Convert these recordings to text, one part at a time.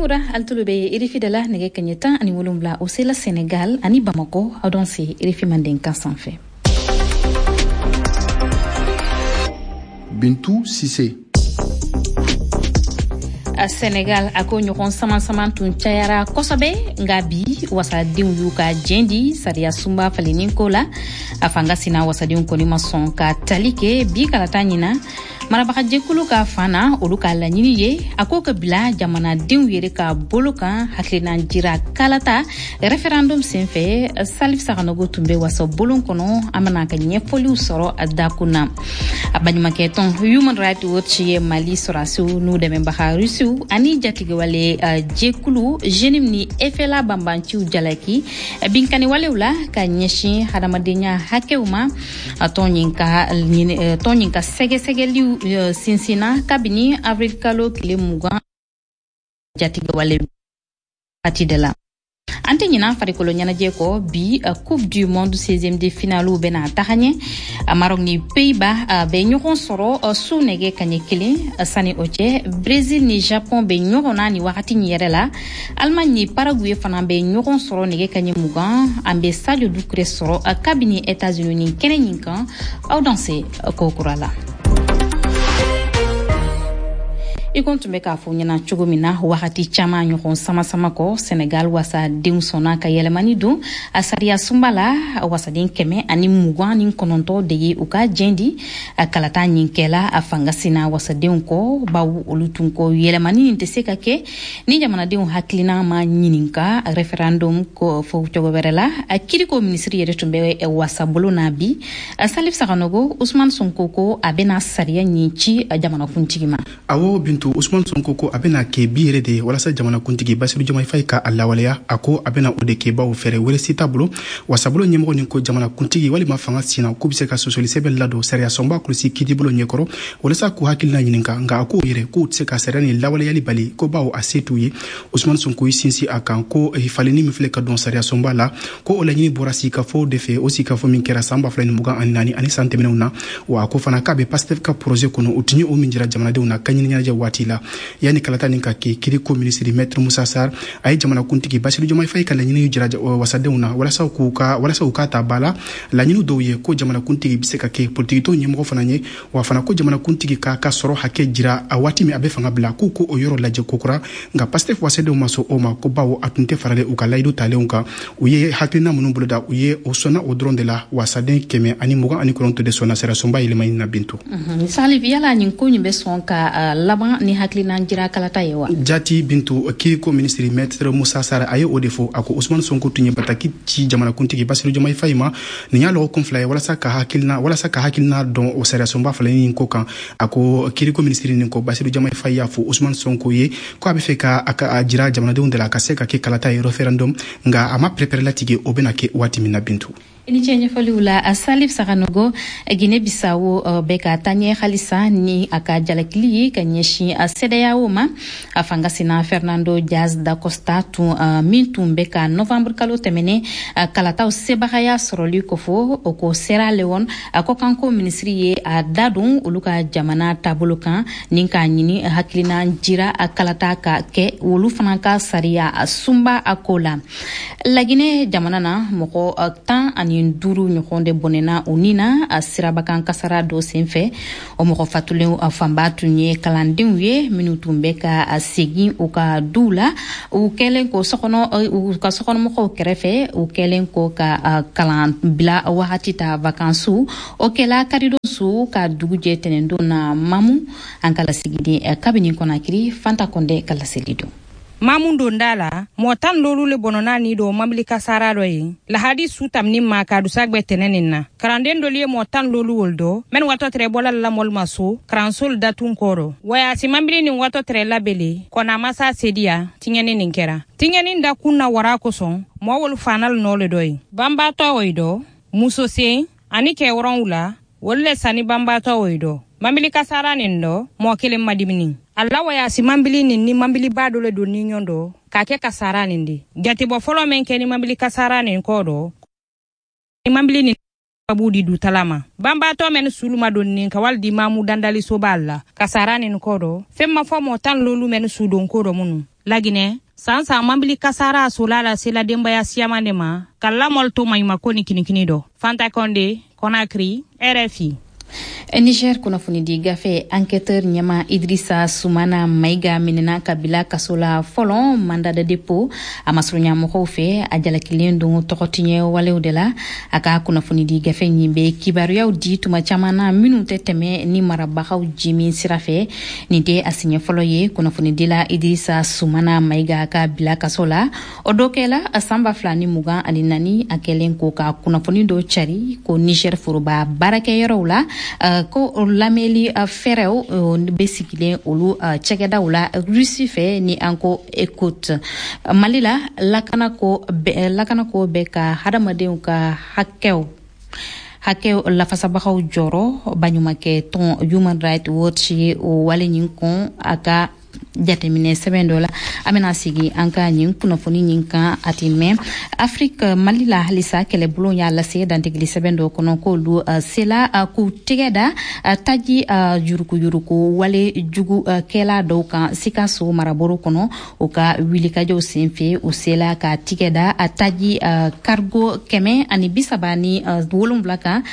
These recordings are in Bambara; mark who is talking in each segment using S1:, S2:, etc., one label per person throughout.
S1: Kokura, alu tulo be RFI de la. Nɛgɛ kaɲɛ 17, o sela Senegal ani Bamako. Aw danse RFI Mandenkan sanfɛ.
S2: Bintu Sise.
S1: Senegal, a ko ɲɔgɔn saman-saman tun cayara kosɛbɛ, nka bi wasadenw y'u ka jɛn di sariya sunba falenni ko la. A fanga sina wasadenw kɔni ma sɔn ka tali kɛ bi kalata ɲina. Marabagajɛkulu ka fan na, olu ka laɲini ye a ko ka bila jamanadenw yɛrɛ ka bolo kan hakilina jira kalata référendum senfɛ. Salif Saganogo tun bɛ wasa bolon kɔnɔ, an bɛna ka ɲɛfɔliw sɔrɔ a dakun na. A baɲumankɛ tɔn Human Rights Watch ye Mali sɔrɔdasiw n'u dɛmɛbaga Rusiw ani jatigɛwale jɛkulu JNIM ni FLA banbanciw jalaki binkanniwalew la ka ɲɛsin hadamadenya hakɛw ma. Tɔn ɲin ka sɛgɛsɛgɛliw sinsinna kabini avril kalo tile 20 jatigɛwale wagati de la. An tɛ ɲinan farikolo ɲɛnajɛ kɔ. Bi, Coupe du monde 16e de finale bɛna taga ɲɛ. Maroc ni Pays-Bas bɛ ɲɔgɔn sɔrɔ su nɛgɛ kaɲɛ 1. Sani o cɛ, Brésil ni Japon bɛ ɲɔgɔn na ni wagati nin yɛrɛ la. Allemagne ni Paraguay fana bɛ ɲɔgɔn sɔrɔ nɛgɛ kaɲɛ 20. An bɛ Sadio Dukure sɔrɔ kabini États-Unis ni kɛnɛ ɲin kan. Aw danse ko kura la. I ko tun bɛ k'a fɔ ɲɛna cogo min na, wagati caman ɲɔgɔn sama-sama kɔ, Senegal wasadenw sɔnna ka yɛlɛmani don a sariya sunba la. Wasaden 129 de ye u ka jɛn di a kalata ɲin kɛla a fanga sina wasadenw kɔ, bawo olu tun ko yɛlɛmani nin tɛ se ka kɛ ni jamanadenw hakilina ma ɲininka référendum ko fɔ cogo wɛrɛ la. A kiriko minisiri yɛrɛ tun bɛ wasabulon na bi. Salif Saganogo, Usman Sonko ko a bɛna sariya ɲin ci jamanakuntigi ma.
S2: Awɔ Bintu, Usman Sonko ko a bɛna kɛ bi yɛrɛ de ye walasa jamanakuntigi Basiru Jomayi Fayi ka a lawaleya. A ko a bɛna o de kɛ, bawo fɛɛrɛ wɛrɛ si t'a bolo. Wasabulon ɲɛmɔgɔ nin ko jamanakuntigi walima fanga sina k'u bɛ se ka sɔsɔli sɛbɛn ladon sariya sɔnba kulusi kiitibulon ɲɛkɔrɔ walasa k'u hakilina ɲininka, nka a k'o yɛrɛ k'u tɛ se ka sariya nin lawaleyali bali, ko bawo a se t'u ye. Usman Sonko y'i sinsin a kan ko falenni min filɛ ka don sariya sɔnba la, ko o laɲini bɔra sigikafɔ de fɛ, o sigikafɔ min kɛra san 2024 ani san tɛmɛnenw na. Wa a ko fana k'a bɛ Pastef ka projet kɔnɔ, o tun ye o min jira jamanadenw na ka ɲini ɲɛnajɛ waati la. Yanni kalata nin ka kɛ, kiriko minisiri Maître Musa Sar a ye jamanakuntigi Basiru Jomayi Fayi ka laɲini jira wasadenw na walasa u k'a ta ba la. Laɲini dɔw ye ko jamanakuntigi bɛ se ka kɛ politikitɔn ɲɛmɔgɔ fana ye, wa fana ko jamanakuntigi k'a ka sɔrɔ hakɛ jira a waati min a bɛ fanga bila, k'u ko o yɔrɔ lajɛ kokura. Nka Pastef wasadenw ma sɔn o ma, ko bawo a tun tɛ faralen u ka layidu talenw kan. U ye hakilina minnu boloda, u ye o sɔnna o dɔrɔn de la. Wasaden 129 de sɔnna sariyasunba yɛlɛmani na, Bintu.
S1: Salif, yala nin ko nin bɛ sɔn ka laban ni hakilina jira kalata ye wa?
S2: Jati Bintu, kiriko minisiri Maître Musa Sara a ye o de fɔ. A ko Usman Sonko tun ye bataki ci jamanakuntigi Basiru Jomayi Fayi ma nin y'a lɔgɔkun 2 ye walasa ka hakilina dɔn o sariyasunba falenni ko kan. A ko kiriko minisiri nin ko Basiru Jomayi Fayi y'a fɔ Usman Sonko ye ko a bɛ fɛ ka a jira jamanadenw de la ka se ka kɛ kalata ye, référendum, nka a ma pɛrɛpɛrɛ latigɛ o bɛna kɛ waati min na, Bintu.
S1: I ni ce ɲɛfɔliw la, Salif Saganogo. Guinée Bissau bɛ ka taa ɲɛ halisa ni a ka jalakili ye ka ɲɛsin CEDEAO ma. A fanga sina Fernando Dias da Costa tun min tun bɛ ka novembre kalo tɛmɛnen kalataw sebagaya sɔrɔli kofɔ, o ko Sierra Leone a kɔkanko minisiri ye a da don olu ka jamana taabolo kan ni k'a ɲini hakilina jira kalata ka kɛ olu fana ka sariya sunba a ko la. Laginɛ jamana na, mɔgɔ 15 ɲɔgɔn de bɔnɛna u ni na a sirabakan kasara dɔ senfɛ. O mɔgɔ fatulen fanba tun ye kalandenw ye minnu tun bɛ ka segin u ka duw la, u kɛlen ko sokɔnɔ u ka sokɔnɔmɔgɔw kɛrɛfɛ, u kɛlen ko ka kalan bila wagati ta, vakansiw. O kɛla karidon su ka dugu jɛ tɛnɛndon na. Mamu, an ka lasigiden kabini Kɔnakiri, Fanta Kɔndɛ ka laseli don.
S3: Mamu donda la, mɔgɔ 15 le bɔnɔna ni do mabili kasara dɔ ye lahadi su tamini ma ka dusagbɛ tɛnɛ nin na. Karanden dolu ye mɔgɔ 15 wol dɔ mɛn watɔ tɛrɛ bɔla la mɔlu ma so karansol datun kɔrɔ wayasi. Mabili nin watɔ tɛrɛ labele kɔnɔ a masa sediya tiɲɛni nin kɛra. Tiɲɛni da kun na wara kosɔn, mɔgɔ wolu fanal nɔ le dɔ ye banbatɔ o dɔ muso sen ani kɛ wɔrɔnwula wolu le sani banbatɔ o dɔ. Mabili kasara nin dɔ, mɔgɔ kelen madimini a la wayasi. Mabili nin ni mabiliba dɔ le don ni ɲɔgɔn dɔ k'a kɛ kasara nin de. Jatebɔ fɔlɔ min kɛ ni mabili kasara nin kɔ dɔ, ni mabili nin b'u di dutala ma banbaatɔ mɛn suluma donni ka wali di mamu dandalisoba la kasara nin kɔ dɔ. Fɛn ma fɔ mɔgɔ 15 mɛn sudon ko dɔ minnu. Laginɛ, san san mambili kasara sola la sela denbaya siyaman de ma ka lamɔli to maɲumako ni kinikini dɔ. Fanta Konde, Conakry, RFI.
S1: Niger kunnafonidi gafe Enquêteur ɲɛma Idrissa Soumana Maïga minɛna ka bila kaso la fɔlɔ, mandat de dépôt, a masurunya mɔgɔw fɛ. A jalakilen don tɔgɔtiɲɛ walew de la. A ka kunnafonidi gafe ɲin bɛ kibaruyaw di tuma caman na minnu tɛ tɛmɛ ni marabagaw jimin sira fɛ. Nin tɛ a siɲɛ fɔlɔ ye kunnafonidila Idrissa Soumana Maïga ka bila kaso la. O dɔ kɛla san 2024, a kɛlen ko ka kunnafoni dɔ cari ko Niger foroba baarakɛyɔrɔw la, ko lamɛnli fɛɛrɛw bɛ sigilen olu cɛkɛdaw la Rusi fɛ, ni an ko Écoute. Mali la, lakanako bɛ ka hadamadenw ka hakɛw lafasabagaw jɔrɔ. Baɲumankɛ tɔn Human Rights Watch ye o wale ɲin kɔn a ka jateminɛ sɛbɛn dɔ la. An bɛna sigi an ka nin kunnafoni ɲin kan a ti mɛn. Afiriki, Mali la halisa, kɛlɛbulon y'a lase dantigili sɛbɛn dɔ kɔnɔ k'olu sela k'u tɛgɛ da taji yurukuyuruku wale jugu kɛla dɔw kan Sikaso marabolo kɔnɔ. U ka wulikajɔw senfɛ, u sela ka tigɛ da taji cargo 137 kan,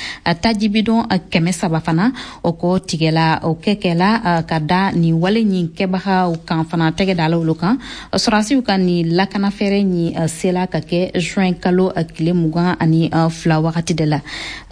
S1: taji bidɔn 300 fana. O kɔ tigɛla o kɛkɛla ka da nin wale ɲin kɛbagaw kan fana, tɛgɛ dala olu kan. Sɔrɔdasiw ka nin lakana fɛɛrɛ ɲin sela ka kɛ juin kalo tile 22 wagati de la.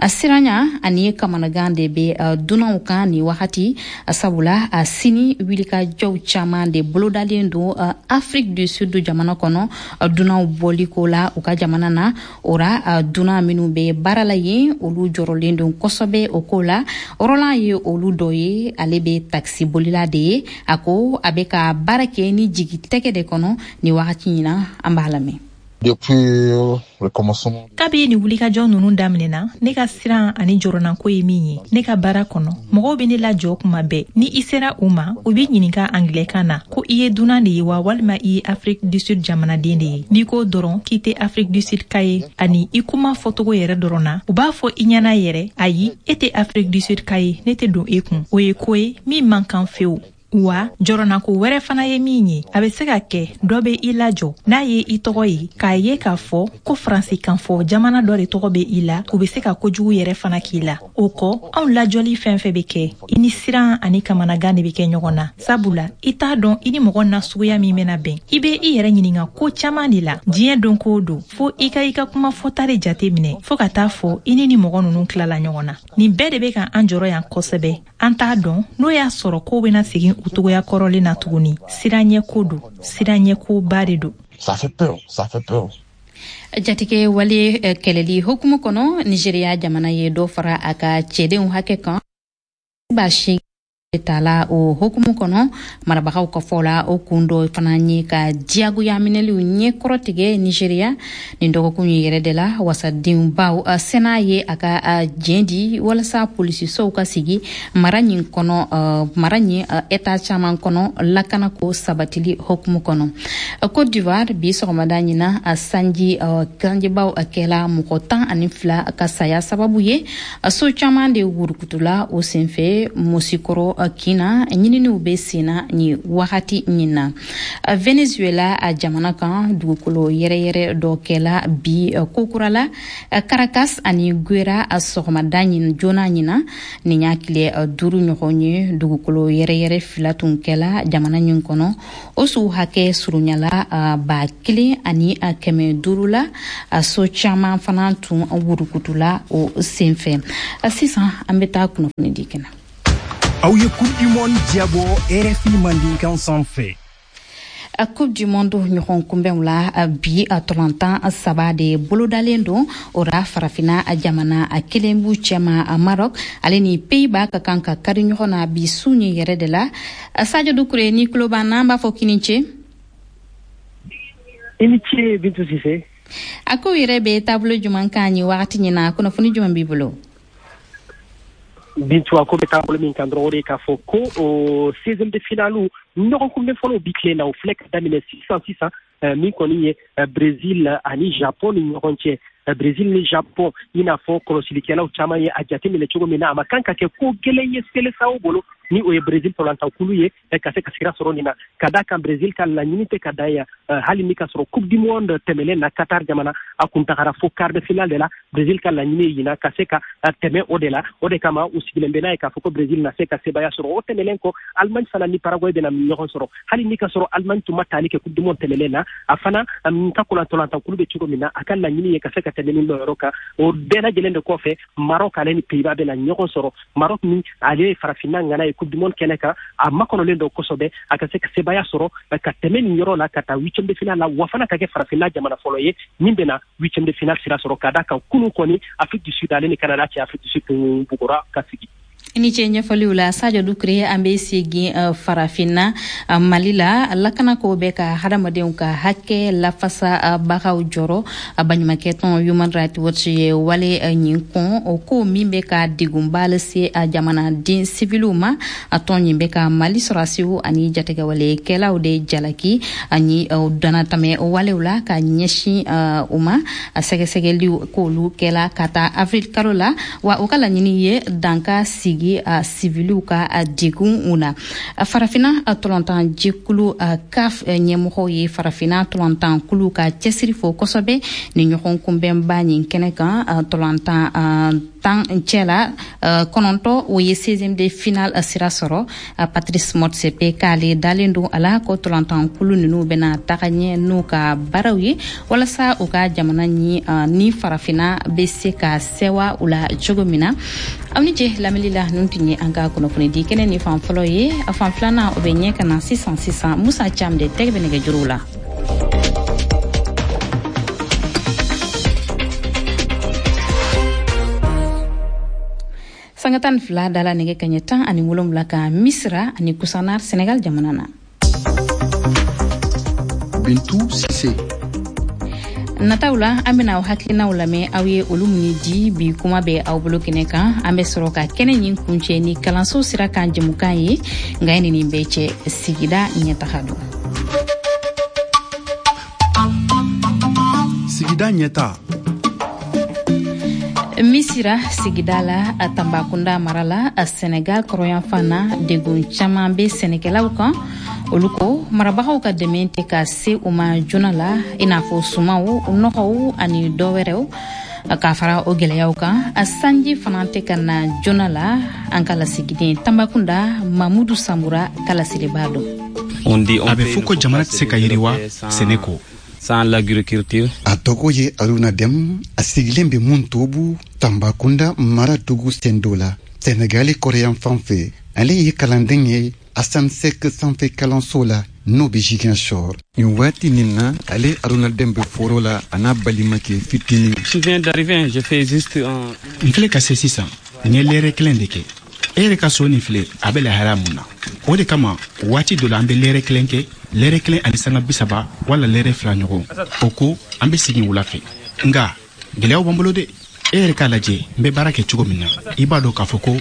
S1: Siranya ani kamanagan de bɛ dunanw kan nin wagati, sabula sini wulikajɔw caman de bolodalen don Afrique du Sud jamana kɔnɔ dunanw bɔliko la u ka jamana na. O ra, dunan minnu bɛ baara la yen, olu jɔrɔlen don kosɛbɛ o ko la. Roland ye olu dɔ ye, ale bɛ takisi bolila de ye. A ko a bɛ ka baara kɛ ni jigi tɛgɛ de kɔnɔ nin wagati in na. An b'a lamɛn.
S4: Kabi ni wulikajɔ nunu daminɛna, ne ka siran ani jɔrɔnako ye min ye, ne ka baara kɔnɔ, mɔgɔw be ne lajɔ kuma bɛɛ. Ni i sera u ma, u b'i ɲininka angilɛkan na ko i ye dunan de ye wa, walima i ye Afrique du Sud jamanaden de ye. N'i ko dɔrɔn k'i tɛ Afrique du Sud ka ye, ani i kuma fɔcogo yɛrɛ dɔrɔn na, u b'a fɔ i ɲɛna yɛrɛ: "Ayi, e tɛ Afrique du Sud ka ye, ne tɛ don e kun." O ye ko ye min man kan fewu. Wa jɔrɔnako wɛrɛ fana ye min ye, a bɛ se ka kɛ dɔ bɛ i lajɔ, n'a ye i tɔgɔ ye, k'a ye k'a fɔ ko Faransikan fɔ jamana dɔ de tɔgɔ bɛ i la, u bɛ se ka kojugu yɛrɛ fana k'i la. O kɔ, anw lajɔli fɛn fɛn bɛ kɛ, i ni siran ani kamanagan de bɛ kɛ ɲɔgɔn na, sabula i t'a dɔn i ni mɔgɔ nasuguya min bɛna bɛn. I bɛ i yɛrɛ ɲininka ko caman de la diɲɛ don ko don, fo i ka i ka kuma fɔta de jate minɛ, fɔɔ ka taa fɔ i ni ni mɔgɔ ninnu tilala ɲɔgɔn na. Nin bɛɛ de bɛ ka an jɔrɔ yan kosɛbɛ. An t'a dɔn n'o y'a sɔrɔ kow bɛna segin u togoya kɔrɔlen na tuguni. Siranɲɛko don, siranɲɛkoba de don.
S5: Ça fait peur, ça fait peur.
S1: Jatigɛ wale kɛlɛli hukumu kɔnɔ, Nigeriya jamana ye dɔ fara a ka cɛdenw hakɛ kan 80 tala. O hukumu kɔnɔ, marabagaw ka fɔ la, o kun dɔ fana ye ka diyagoya minɛliw ɲɛkɔrɔ tigɛ Nigeriya. Nin dɔgɔkun ye yɛrɛ de la, wasadenbaw Sénat ye a ka jɛn di walasa polisisow ka sigi mara ɲin kɔnɔ, mara ɲin État caman kɔnɔ, lakanako sabatili hukumu kɔnɔ. Côte d'Ivoire, bi sɔgɔmada ɲina, sanji sanjibaw kɛla mɔgɔ 12 ka saya sababu ye. So caman de wurukutula o senfɛ Mosikɔrɔ kina. Ɲininiw bɛ senna nin wagati ɲin na. Venezuela a jamana kan, dugukolo yɛrɛyɛrɛ dɔ kɛla bi kokura la Caracas ani Guera a sɔgɔmada ɲin joona ɲina. Nin y'a tile 5 ɲɔgɔn ye dugukolo yɛrɛyɛrɛ fila tun kɛla jamana ɲin kɔnɔ. O su hakɛ surunyala 1500 la. So caman fana tun wurukutula o senfɛ. Sisan an bɛ taa kunnafoni di kɛnɛ.
S6: Aw ye Coupe du Monde diyabɔ RFI Mandinkan sanfɛ.
S1: Coupe du Monde ɲɔgɔn kunbɛnw la bi, tɔlɔntan saba de bolodalen don. O ra, Farafina jamana kelen b'u cɛma, Maroc, ale ni Pays-Bas ka kan ka kari ɲɔgɔn na bi su ɲɛ yɛrɛ de la. Sadio Dukure, ni tulo b'an na, an b'a fɔ k'i ni ce.
S7: I ni ce, Bintu Sise.
S1: A ko yɛrɛ bɛ taabolo jumɛn kan nin wagati ɲin na? Kunnafoni jumɛn b'i bolo?
S7: Bintu, a ko bɛ taabolo min kan dɔrɔn, o de k'a fɔ ko o 16e de finale ɲɔgɔn kunbɛn fɔlɔ bi tile na, o filɛ ka daminɛ sisan sisan, min kɔni ye Brésil ani Japon ni ɲɔgɔn cɛ. Brésil ni Japon, i n'a fɔ kɔlɔsilikɛlaw caman ye a jateminɛ cogo min na, a ma kan ka kɛ ko gɛlɛn ye Selesaw bolo. ni o ye Brésil tɔlantankulu ye ka se ka sira sɔrɔ nin na, ka da kan Brésil ka laɲini tɛ ka dan yan. Hali ni ka sɔrɔ Coupe du monde tɛmɛnen na, Qatar jamana a kun tagara fo quart de finale de la, Brésil ka laɲini ye ɲinan ka se ka tɛmɛ o de la. O de kama u sigilen bɛ n'a ye k'a fɔ ko Brésil na se ka sebaaya sɔrɔ. O tɛmɛnen kɔ, Allemagne fana ni Paraguay bɛna ɲɔgɔn sɔrɔ. Hali ni ka sɔrɔ Allemagne tun ma taali kɛ Coupe du monde tɛmɛnen na, a fana ka tɔlantankulu bɛ cogo min na, a ka laɲini ye ka se ka tɛmɛ nin yɔrɔ kan. O bɛɛ lajɛlen de kɔfɛ, Maroc ale ni Pays-Bas bɛna ɲɔgɔn sɔrɔ. Maroc min ale ye farafinna ŋana ye Coupe du monde kɛnɛ kan, a makɔnɔlen don kosɛbɛ a ka se ka sebaaya sɔrɔ ka tɛmɛ nin yɔrɔ la ka taa huitième de finale la, wa fana ka kɛ farafinna jamana fɔlɔ ye min bɛna huitième de finale sira sɔrɔ, ka da kan kunun kɔni Afrique du Sud ale ni Canada cɛ, Afrique du Sud tun bugɔra ka sigi.
S1: I ni ce ɲɛfɔliw la, Sadio Dukure. An bɛ segin farafinna, Mali la. Lakanako bɛ ka hadamadenw ka hakɛ lafasa bagaw jɔrɔ. Baɲumankɛ tɔn Human Rights Watch ye wale ɲin kɔn, o ko min bɛ ka degunba lase jamanaden siviliw ma. A tɔn ɲin bɛ ka Mali sɔrɔdasiw ani jatigɛwalekɛlaw de jalaki ani danatɛmɛ walew la ka ɲɛsin u ma. Sɛgɛsɛgɛliw k'olu kɛla ka taa avril kalo la, wa o ka laɲini ye danka sigi a siviliw ka degun u na. Farafinna tɔlɔntan jɛkulu CAF ɲɛmɔgɔw ye farafinna tɔlɔntan kulu ka cɛsiri fo kosɛbɛ ni ɲɔgɔn kunbɛnba ɲin kɛnɛ kan. Tɔlɔntan 10 cɛ la, 9, o ye 16e de finale sira sɔrɔ. Patrice Motsepe k'ale dalen don a la ko tɔlɔntan kulu ninnu bɛna taga ɲɛ n'u ka baaraw ye, walasa u ka jamana ni farafinna bɛ se ka sɛwa u la cogo min na. Aw ni ce lamɛnli la. Ninnu tun ye an ka kunnafoni di kɛnɛ ni fan fɔlɔ ye. A fan filanan, o bɛ ɲɛ ka na sisan sisan. Musa Cam de tɛgɛ bɛ nɛgɛjuruw la. Sanga 12 dala nɛgɛ kaɲɛ 17 kan Misira ani Kusanar, Senegal jamana na.
S8: Bintu Sise.
S1: Nataw la, an bena aw hakilinaw lamɛn, aw ye olu minnu di bi kuma bɛ aw bolo kɛnɛ kan. An bɛ sɔrɔ ka kɛnɛ ɲin kuncɛ ni kalanso sira kan jɛmukan ye. Nka ye nin bɛɛ cɛ, sigida ɲɛtaga don.
S8: Sigida ɲɛta.
S1: Misira sigida la, Tanbakunda mara la, Senegal kɔrɔyanfan na, degun caman bɛ sɛnɛkɛlaw kan. Olu ko marabagaw ka dɛmɛ tɛ ka se u ma joona la, i n'a fɔ sumaw, nɔgɔw ani dɔ wɛrɛw. K'a fara o gɛlɛyaw kan, sanji fana tɛ ka na joona la. An ka lasigiden Tanbakunda, Mamudu Samura ka laseliba don.
S2: A bɛ fɔ ko jamana tɛ se ka yiriwa sɛnɛ kɔ.
S9: Sans l'agriculture.
S10: A tɔgɔ ye Aruna Dem, a sigilen bɛ Muntobu, Tambakunda mara dugu sendo la, Senegali kɔrɔyan fan fɛ. Ale ye kalanden ye Asan Sek sanfɛ kalanso la, n'o bɛ Ziguinchor. Nin waati nin na, ale Aruna Dem bɛ foro la, a n'a balimakɛ fitinin.
S9: Je viens d'arriver, je fais juste un.
S2: N filɛ ka se sisan, n ye lɛrɛ kelen de kɛ. E yɛrɛ ka so nin filɛ, a bɛ lahala mun na? O de kama waati dɔ la, an bɛ lɛrɛ kelen kɛ, lɛrɛ kelen ani sanga 30 wala lɛrɛ 2 ɲɔgɔn. O ko an bɛ segin wula fɛ. Nka gɛlɛyaw b'an bolo dɛ. E yɛrɛ k'a lajɛ n bɛ baara kɛ cogo min na, i b'a dɔn k'a fɔ ko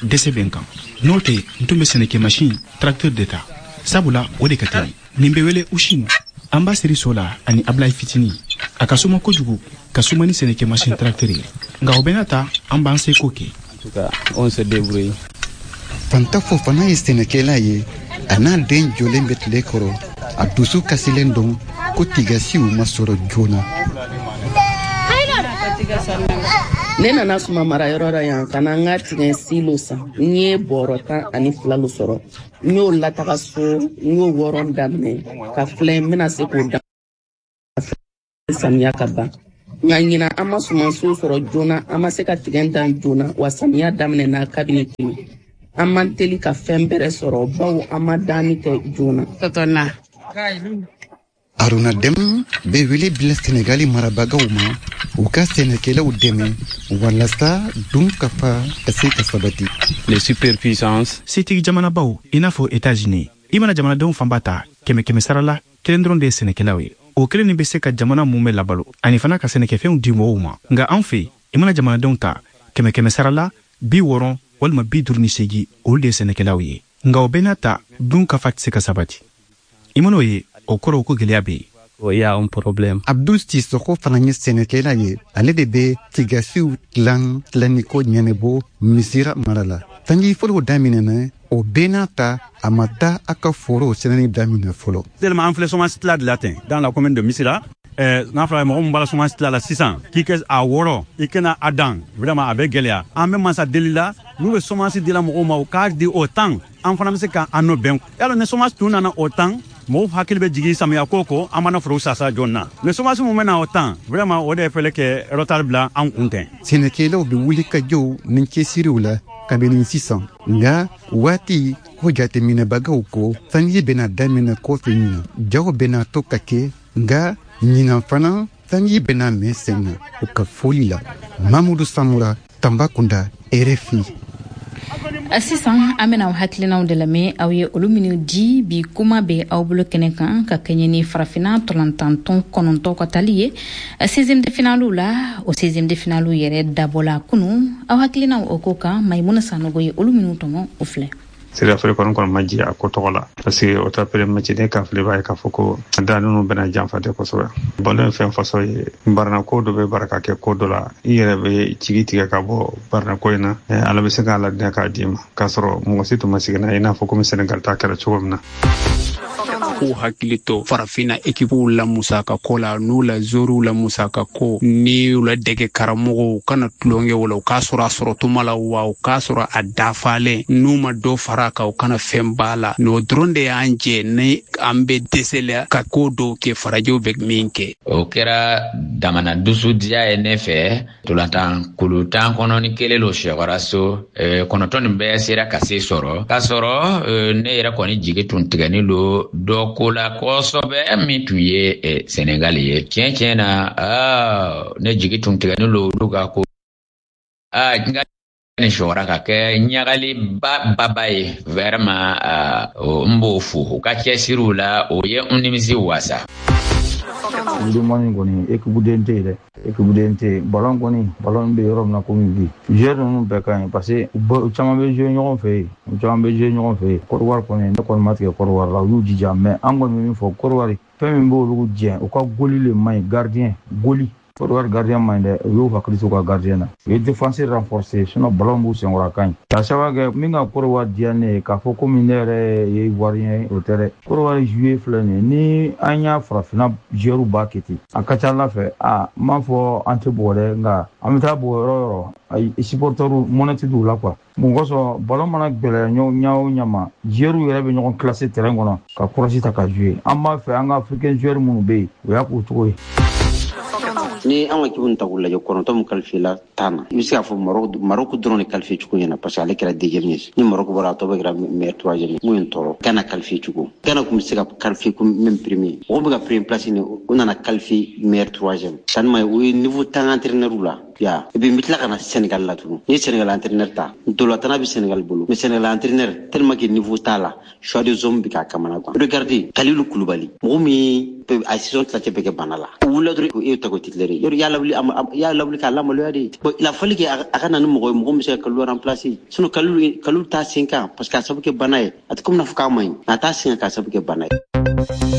S2: dɛsɛ bɛ n kan. N'o tɛ, n tun bɛ sɛnɛkɛmasin tracteur de ta, sabula o de ka teli. Nin bɛ wele usin. An b'a siri so la ani Ablaye fitinin. A ka suma kojugu ka suma ni sɛnɛkɛmasin tracteur ye, nka o bɛɛ n'a ta, an b'an seko kɛ.
S9: On se débrouille.
S10: Fanta Fofana ye sɛnɛkɛla ye. A n'a den jɔlen bɛ tile kɔrɔ. A dusu kasilen don ko tigasiw ma sɔrɔ joona.
S11: Ne nana suma marayɔrɔ la yan ka na n ka tigɛ silo san. N ye bɔrɔ 12 lo sɔrɔ. N y'o lataga so, n y'o wɔrɔn daminɛ ka filɛ n bɛna se k'o dan samiya ka ban. Nka ɲinan an ma sumansiw sɔrɔ joona, an ma se ka tigɛ dan joona, wa samiya daminɛna kabini kelen. An man teli ka fɛn bɛrɛ sɔrɔ bawo an ma danni kɛ joona.
S10: Aruna Dem bɛ wele bila Senegali marabagaw ma u ka sɛnɛkɛlaw dɛmɛ walasa dunkafa ka se ka sabati.
S9: Les superpuissances.
S2: Setigi jamanabaw i n'a fɔ États-Unis, i mana jamanadenw fanba ta kɛmɛ kɛmɛ sara la, kelen dɔrɔn de ye sɛnɛkɛlaw ye. O kelen nin bɛ se ka jamana mun bɛ labalo ani fana ka sɛnɛkɛfɛnw di mɔgɔw ma. Nka an fɛ, i mana jamanadenw ta kɛmɛ kɛmɛ sara la, 60 walima 58, olu de ye sɛnɛkɛlaw ye. Nka o bɛɛ n'a ta, dunkafa tɛ se ka sabati. I man'o ye, o kɔrɔ ko gɛlɛya bɛ yen.
S9: Il y a un problème.
S10: Abdou Sissoko fana ye sɛnɛkɛla ye. Ale de bɛ tigasiw tilan tilanniko ɲɛnabɔ Misira mara la. Sanji fɔlɔw daminɛna. O bɛɛ n'a ta, a ma taa a ka forow sɛnɛni daminɛ fɔlɔ.
S12: Tellement an filɛ semence tila de la ten dans la commune de Missira. N'a fɔra mɔgɔ min bɔra semence tila la sisan k'i kɛ a wɔrɔ, i kana a dan, vraiment a bɛ gɛlɛya. An bɛ masa deli la, n'u bɛ semence dila mɔgɔw ma, u k'a di o temps, an fana bɛ se k'an nɔ bɛn. Yala ni semence tun nana o temps, mɔgɔw hakili bɛ jigin samiya ko kɔ, an mana foro sasa joona. Mais semence mun bɛ na o temps, vraiment o de fɛlɛ kɛ retard bila an kun tɛ.
S10: Sɛnɛkɛlaw bɛ wuli ka jɔw ni cɛsiriw la kabini sisan, nka waati ko jateminɛbagaw ko sanji bɛna daminɛ kɔfɛ ɲinan, jaw bɛna to ka kɛ, nka ɲinan fana sanji bɛna mɛn sen na u ka foli la. Mamudu Samura, Tambacounda, RFI.
S1: Sisan an bɛna aw hakilinaw de lamɛn, aw ye olu minnu di bi kuma bɛ aw bolo kɛnɛ kan, ka kɛɲɛ ni Farafinna tɔlantantɔn 9 ka tali ye 16e de finale la. O 16e de finale yɛrɛ dabɔla kunu. Aw hakilinaw o ko kan, Maimuna Sanogo ye olu minnu tɔmɔ, o filɛ.
S13: Sira kɔni kɔni ma ji a ko tɔgɔ la, parce que o ta premier match ne ka filɛ b'a ye k'a fɔ ko da ninnu bɛna janfa de kosɛbɛ. Ballon ye fɛn façon ye, barana ko dɔ bɛ baraka kɛ ko dɔ la, i yɛrɛ bɛ jigi tigɛ ka bɔ barana ko in na, Ala bɛ se k'a ladina k'a d'i ma k'a sɔrɔ mɔgɔ si tun ma sigi n'a ye, i n'a fɔ komi Senegal ta kɛra cogo min na.
S14: K'u hakili to Farafinna ekipuw la musaka ko la, n'u la zoriw la musaka ko, ni u la dɛgɛ karamɔgɔw kana tulonkɛ o la, u k'a sɔrɔ a sɔrɔ tuma la, wa u k'a sɔrɔ a dafalen, n'u ma dɔ fara a kan, u kana fɛn b'a la. N'o dɔrɔn de y'an jɛ ni an bɛ dɛsɛ la ka ko dɔw kɛ farajɛw bɛ min kɛ.
S15: O kɛra damana dusudiya ye ne fɛ. Tolantan kulu 11 lo sɛkɔra so, 9 nin bɛɛ sera ka se sɔrɔ, k'a sɔrɔ ne yɛrɛ kɔni jigi tun tigɛni lo dɔ ko la kosɛbɛ, min tun ye Senegal ye. Tiɲɛ na, ne jigi tun tigɛni lo olu ka ko nka nin sɔrɔra ka kɛ ɲagali baba ye. Vraiment n b'o fo u ka cɛsiriw la, o ye n nimisi wasa.
S16: Ndumani kɔni équipe den tɛ yen dɛ, équipe den tɛ yen. Ballon kɔni, ballon bɛ yɔrɔ min na komi bi, joueur ninnu bɛɛ ka ɲi, parce que u caman bɛ jouer ɲɔgɔn fɛ yen, u caman bɛ jouer ɲɔgɔn fɛ yen. Côte d'Ivoire kɔni, ne kɔni ma tigɛ Côte d'Ivoire la, u y'u jija, mais an kɔni bɛ min fɔ Côte d'Ivoire, fɛn min b'olu jɛ, u ka goli le man ɲi, gardien goli. Côte d'Ivoire gardien man ɲi dɛ, u y'u hakili to u ka gardien na. U ye défense renforcer, sinon ballon b'u senkɔrɔ, a ka ɲi. K'a sababu kɛ min ka Côte d'Ivoire diya ne ye, k'a fɔ komi ne yɛrɛ ye Ivoirien ye, o tɛ dɛ. Côte d'Ivoire jouer filɛ nin ye, ni an y'a farafinna joueur b'a kɛ ten, a ka ca Ala fɛ, a n m'a fɔ an tɛ bugɔ dɛ, nka an bɛ taa bugɔ yɔrɔ o yɔrɔ, ayi supporteurs mɔnɛ tɛ don u la quoi. Mun kosɔn ballon mana gɛlɛya ɲa o ɲa ma, joueurs yɛrɛ bɛ ɲɔgɔn classer terrain kɔnɔ ka courage ta ka jouer. An b'a fɛ an ka africain joueurs minnu bɛ yen, o y'a k'o cogo ye.
S17: Ni an ka équipe ta k'u lajɛ, 9 min qualifié la 10 na, i bɛ se k'a fɔ Maroc dɔrɔn de qualifié cogo ɲɛna, parce que ale kɛra deuxième ye. Ni Maroc bɔra, a tɔ bɛ kɛra meilleur troisième ye. Mun ye n tɔɔrɔ, Ghana qualifié cogo, Ghana tun bɛ se ka qualifié comme même premier, mɔgɔ bɛ ka premier place ni o nana qualifié meilleur troisième, sanni o ye niveau tan entraîneur la ya. Et puis n bɛ tila ka na Sénégal la tugun. Ni ye Sénégal entraîneur ta, ntolatana bɛ Sénégal bolo, mais Sénégal entraîneur tellement que niveau t'a la, choix des hommes bɛ k'a kamana gan. Regardez Kalilou Koulibaly, mɔgɔ min a saison tilancɛ bɛɛ kɛ bana la, o wulila dɔrɔn e ta ko titulaire ye, yɔrɔ y'a lawuli k'a lamaloya de. Bon, il a fallu que a ka na ni mɔgɔ ye, mɔgɔ min bɛ se ka Kalilou remplacer, sinon Kalilou t'a sen kan, parce que a sababu kɛ bana ye, a tɛ komi n'a fɔ k'a man ɲi, a t'a sen kan k'a sababu kɛ bana ye.